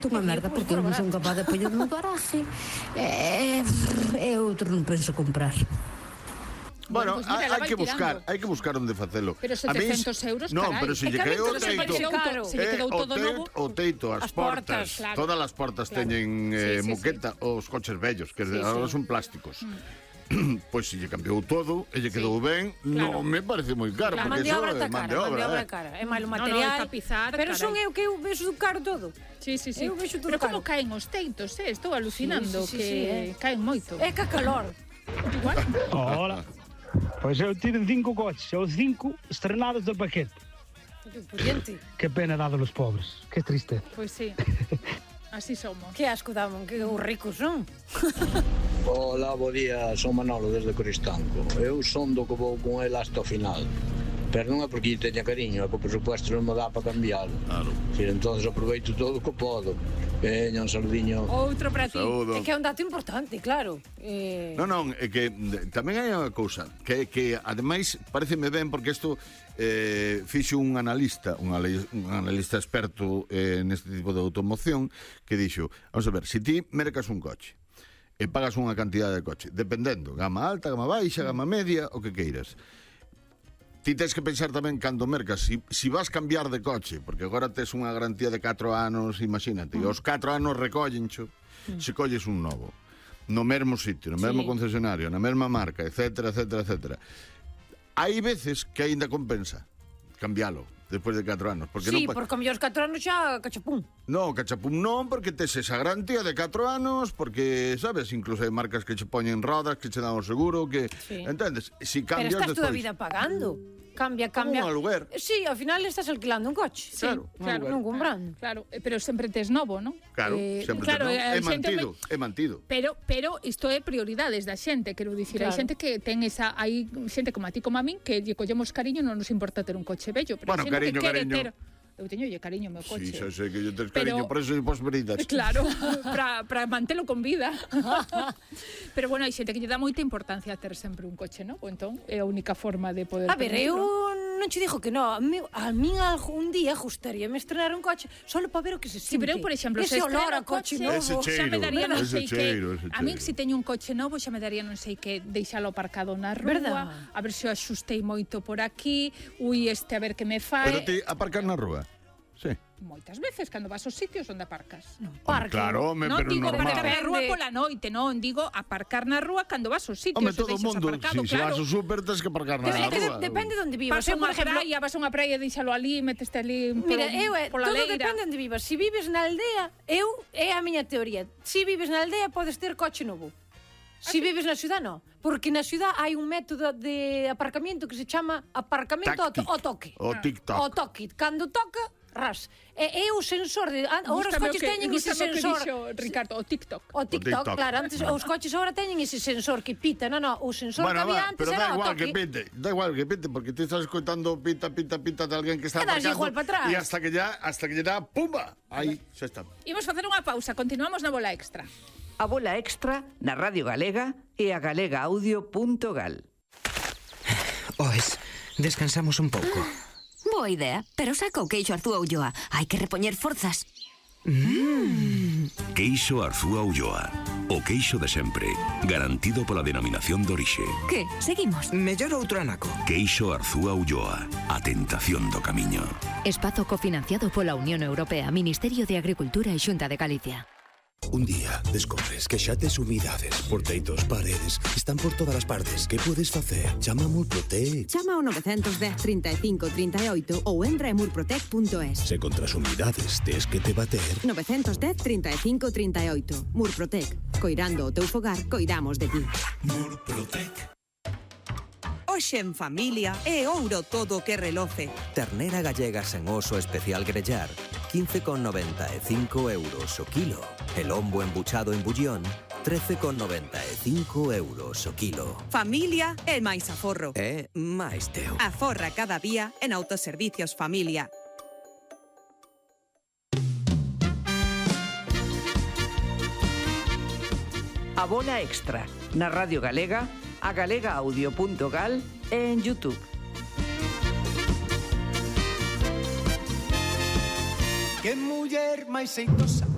Unha merda, porque eu non son capaz de poñer no garaje e outro non penso comprar. Bueno, hai que buscar onde facelo. Pero 700 euros, carai. Non, pero se lle caeu o teito. Se lle quedou todo novo. O teito, as portas, todas as portas teñen moqueta, os coches vellos, que agora son plásticos. Pois se lle cambiou todo e lle quedou ben, non me parece moi caro, porque iso é man de obra, cara. É malo material, tapizar, pero son eu que eu vexo caro todo. Sí. Pero como caen os teitos, estou alucinando que caen moito. É que calor. Igual. Hola. Pois eu tive 5 coches, os 5 estrenados del paquete. Que pena dado los pobres, que triste. Pois sí. Así somos. Que asco damos, que os ricos son. Hola, bo día, son Manolo desde Coristanco. Eu son do que vou con el hasta o final. Pero non é porque teña cariño, é que o presupuesto non me dá para cambiarlo. Claro. Entonces aproveito todo o que podo. Veña, un saludiño. Outro para ti. Saúdo. É que é un dato importante, claro. Non, é que tamén hai unha cousa que ademais pareceme ben porque isto fixo un analista experto neste tipo de automoción que dixo, vamos a ver, se ti mercas un coche e pagas unha cantidade de coche, dependendo, gama alta, gama baixa, gama media, o que queiras, ti tens que pensar tamén cando mercas si vas cambiar de coche, porque agora tes unha garantía de 4 anos, imagínate, e os 4 anos recóllencho se colles un novo no mesmo sitio, no mesmo concesionario, na mesma marca, etcétera. Hai veces que aínda compensa cambialo despois de 4 anos, porque porque a mellor 4 anos xa cachapún. Non, cachapún non, porque tes esa garantía de 4 anos, porque, sabes, incluso hai marcas que che poñen rodas, que che dan o seguro, que entendes? Si cambias pero estás toda a despois vida pagando. Cambia. Como un aluguer. Sí, ao final estás alquilando un coche. Claro, non comprando. Claro, pero sempre tes novo, non? Claro, sempre tes novo. É mantido. Pero isto é prioridades da xente, quero dicir, hai xente que ten esa, hai xente como a ti como a min que lle collemos cariño, non nos importa ter un coche bello, pero bueno, xente que quere ter. Eu teño cariño ao meu coche. Sí, xa sei que yo tes cariño, por eso pos veridas. Claro, para mantelo con vida. Pero bueno, hai xente que lle dá moita importancia a ter sempre un coche, non? Entón, é a única forma de poder... A ver, eu non che dixo que non. A min algún día gustaríame estrenar un coche solo para ver o que se sinte. Sí, pero eu, por exemplo, ese olor a coche novo, xa me daría non sei que... A min, se teño un coche novo, xa me daría non sei que deixalo aparcado na rúa, a ver se o axustei moito por aquí, a ver que me fai... Pero ti aparcas na rúa? Sí. Moitas veces, cando vas aos sitios onde aparcas. Non, parque. Claro, non pero digo normal. aparcar na rúa pola noite, non, digo aparcar na rúa cando vas aos sitios. Home, todo o mundo, se vas ao súper, tens que aparcar na rúa. Depende de onde vivas. Vas a unha praia, deixalo ali, meteste ali pola leira. Todo depende de onde vivas. Se vives na aldea, é a miña teoría. Se vives na aldea, podes ter coche novo. Se vives na ciudad, non. Porque na ciudad hai un método de aparcamiento que se chama aparcamento ao toque. O TikTok. O toque. Cando toca, ras. É o sensor de... Agora os coches teñen ese sensor... Ricardo, o TikTok. O TikTok, claro. Antes os coches agora teñen ese sensor que pita. Non, o sensor que había antes era o toque. Da igual que pite, porque te estás escoitando pita de alguén que está aparcando. Igual para atrás. E hasta que lle dá, pumba, aí xa está. Imos facer unha pausa, continuamos na bola extra. A bola extra na Radio Galega e a galegaaudio.gal. Descansamos un pouco. Boa idea, pero saca o queixo Arzúa Ulloa. Hai que repoñer forzas. Queixo Arzúa Ulloa. O queixo de sempre, garantido pola denominación de orixe. Que? Seguimos? Mellor outro anaco. Queixo Arzúa Ulloa. A tentación do camiño. Espazo cofinanciado pola Unión Europea, Ministerio de Agricultura e Xunta de Galicia. Un día descobres que xa tes humidades, porteitos, paredes, están por todas as partes. Que podes facer? Chama a Murprotec. Chama ao 910 35 38 ou entra en murprotec.es. Se contra as humidades tes que te bater... 910 35 38. Murprotec. Coirando o teu fogar, coidamos de ti. Murprotec. Hoxe en familia é ouro todo o que reloce. Ternera gallega sen oso especial grellar, 15,95 euros o kilo. El lombo embuchado en bullón, 13,95 euros o kilo. Familia é máis aforro. É máis teu. Aforra cada día en Autoservicios Familia. A bola extra na Radio Galega, a galegaaudio.gal e en YouTube. Que muller máis xeitosa,